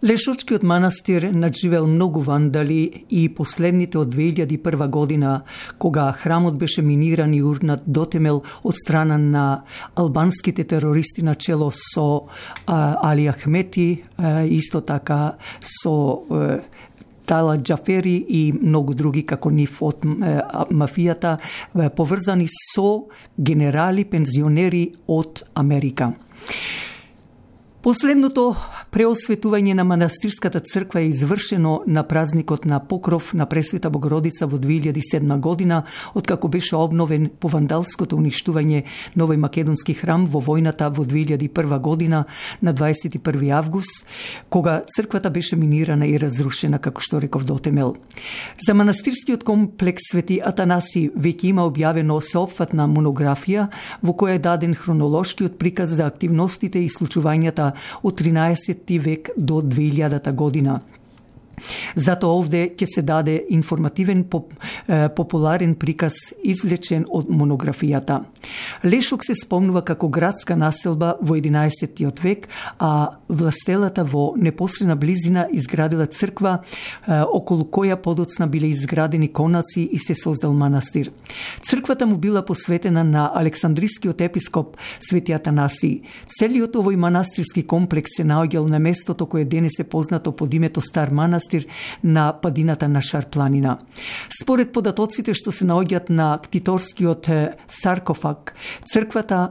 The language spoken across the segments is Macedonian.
Лешочкиот манастир надживел многу вандали и последните од 2001 година, кога храмот беше миниран и урнат до темел од страна на албанските терористи на чело со Али Ахмети, исто така со Тала Џафери и многу други како нив од мафијата, поврзани со генерали, пензионери од Америка. Последното преосветување на манастирската црква е извршено на празникот на Покров на Пресвета Богородица во 2007 година, откако беше обновен по вандалското уништување Новој Македонски храм во војната во 2001 година на 21 август, кога црквата беше минирана и разрушена, како што реков, до темел. За манастирскиот комплекс Свети Атанаси веќе има објавено сеопфатна монографија во која е даден хронолошкиот приказ за активностите и случувањата од 13 век до 2000 година. Затоа овде ќе се даде информативен популарен приказ извлечен од монографијата. Лешок се спомнува како градска населба во 11 век, а властелата во непосредна близина изградила црква околу која подоцна биле изградени конаци и се создал манастир. Црквата му била посветена на Александрискиот епископ Свети Атанаси. Целиот овој манастирски комплекс се наоѓал на местото кое денес е познато под името Стар манастир на падината на Шарпланина. Според податоците што се наоѓаат на ктиторскиот саркофаг, црквата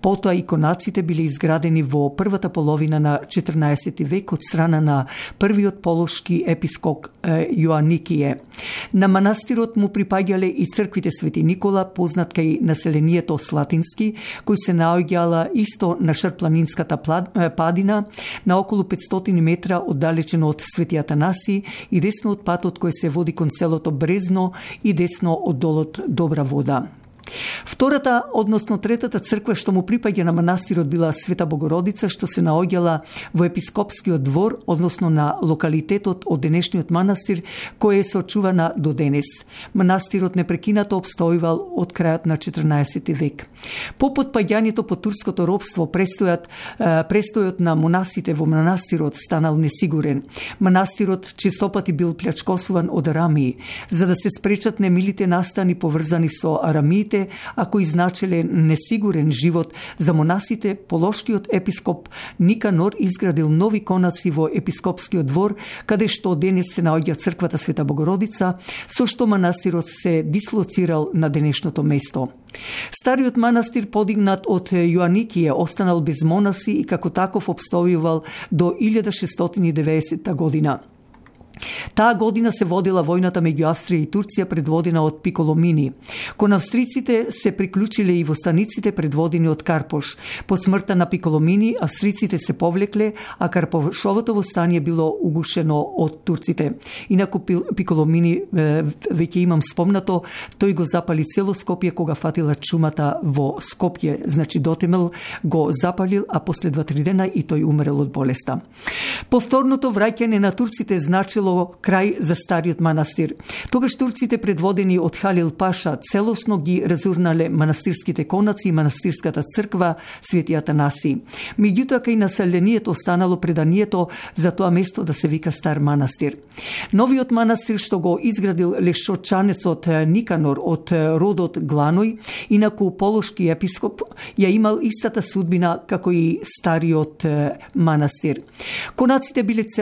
потоа и конаците биле изградени во првата половина на 14 век од страна на првиот полошки епископ Јоаникије. На манастирот му припаѓале и црквите Свети Никола, познат кај населението Слатински, кој се наоѓала исто на Шарпланинската падина, на околу 500 метра оддалечено од Свети Атанаси и десно од патот кој се води кон селото Брезно и десно од долот Добра вода. Втората, односно третата црква што му припаѓа на манастирот била Света Богородица, што се наоѓала во епископскиот двор, односно на локалитетот од денешниот манастир, кој е сочувана до денес. Манастирот непрекинато обстојувал од крајот на 14 век. По потпаѓањето по турското робство, престојот на монасите во манастирот станал несигурен. Манастирот честопати бил плячкосуван од арамии, за да се спречат немилите настани поврзани со арамиите, а кои значеле несигурен живот за монасите. Полошкиот епископ Никанор изградил нови конаци во епископскиот двор, каде што денес се наоѓа црквата Света Богородица, со што манастирот се дислоцирал на денешното место. Стариот манастир, подигнат од Јоаникије, останал без монаси и како таков обстојувал до 1690 година. Таа година се водила војната меѓу Австрија и Турција, предводена од Пиколомини. Кон австриците се приклучиле и востаниците, предводени од Карпош. По смртта на Пиколомини, австриците се повлекле, а Карпошовото востание било угушено од турците. Инаку Пиколомини, веќе имам спомнато, тој го запали цело Скопје кога фатила чумата во Скопје. Значи дотемел го запалил, а после 2-3 дена и тој умрел од болеста. Повторното враќање на турците значило крај за стариот манастир. Тогаш турците, предводени од Халил Паша, целосно ги разурнале манастирските конаци и манастирската црква Свети Атанаси. Меѓутоа, кај населението останало преданието за тоа место да се вика Стар манастир. Новиот манастир што го изградил лешочанецот Никанор од родот Гланој, инаку полошки епископ, ја имал истата судбина како и стариот манастир. Конаците биле